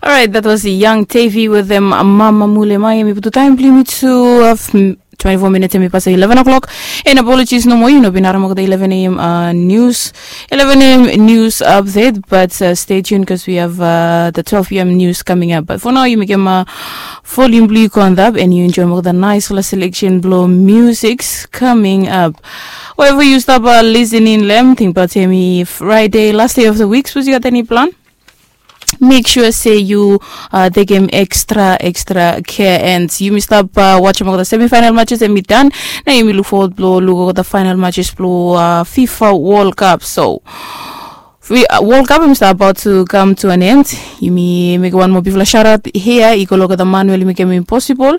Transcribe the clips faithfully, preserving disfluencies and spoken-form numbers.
Alright, that was Young Tavy with them, Mama Mule Mai. Yumi putum taem blong yumi tu, uh, twenty-four minutes yumi pasa eleven o'clock. And apologies nomo, yu no bin harem olgeta eleven a.m. Uh, news, eleven a.m. news update, but uh, stay tuned because we have uh, the twelve p.m. news coming up. But for now, yu mekem uh, volume blong yu go antap and yu enjoem olgeta naesfala selection blong musics coming up. Wherever yu stap uh, listening long, tingbaot hemi Friday, last day of the week, sapos yu gat eni plan, make sure se yu uh, tekem extra extra care. And yumi stap uh, wajem olgeta semifinal matches hemi dan. Nao yumi luk fowod blong luk olgeta final matches blong uh, fifa World Cup. So World Cup hemi stap about to come to an end. Yumi mekem wan moa bigfala shout out hia i go long olgeta man we oli mekem hemi possible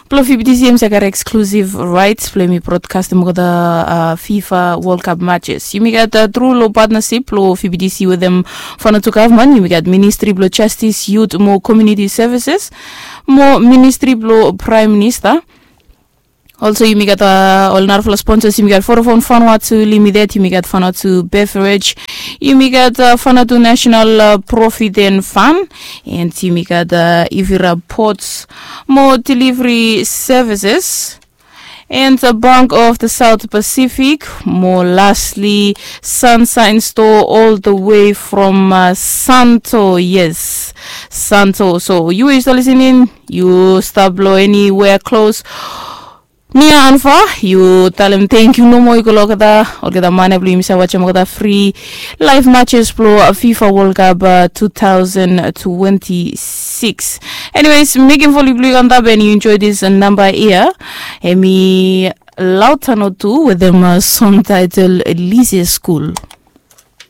blong fibitisi hemi save gat exclusive rights blong hemi broadcastem olgeta uh, fifa World Cup matches. Yumi gat uh, tru long partnership blong fibitisi wetem Vanuatu gavman. Yumi gat ministri blong justice, youth mo community services, mo ministri blong prime minister. Also yumi gat uh, ol narafala sponsors. Yumi gat Vodafone Vanuatu Limited, yumi gat Vanuatu Beverage, yumi gat uh, Vanuatu National uh, Profit and Fund, and yumi gat uh, Ivira Ports mo delivery services, and the Bank of the South Pacific. Mo lastly, Sunshine Store, all the way from uh, Santo. Yes, Santo. So yu we yu stap listening, yu stap long anywhere close, near and far, yu talem thank you nomo i go long olgeta, olgeta man ya blong yumi save wajem olgeta free live matches blong uh, fifa World Cup uh, two thousand twenty-six. Anyways, mekem volume blong yu go antap and yu enjoy this uh, number hia. Hemi Lautano tu wetem uh, song title Lise School.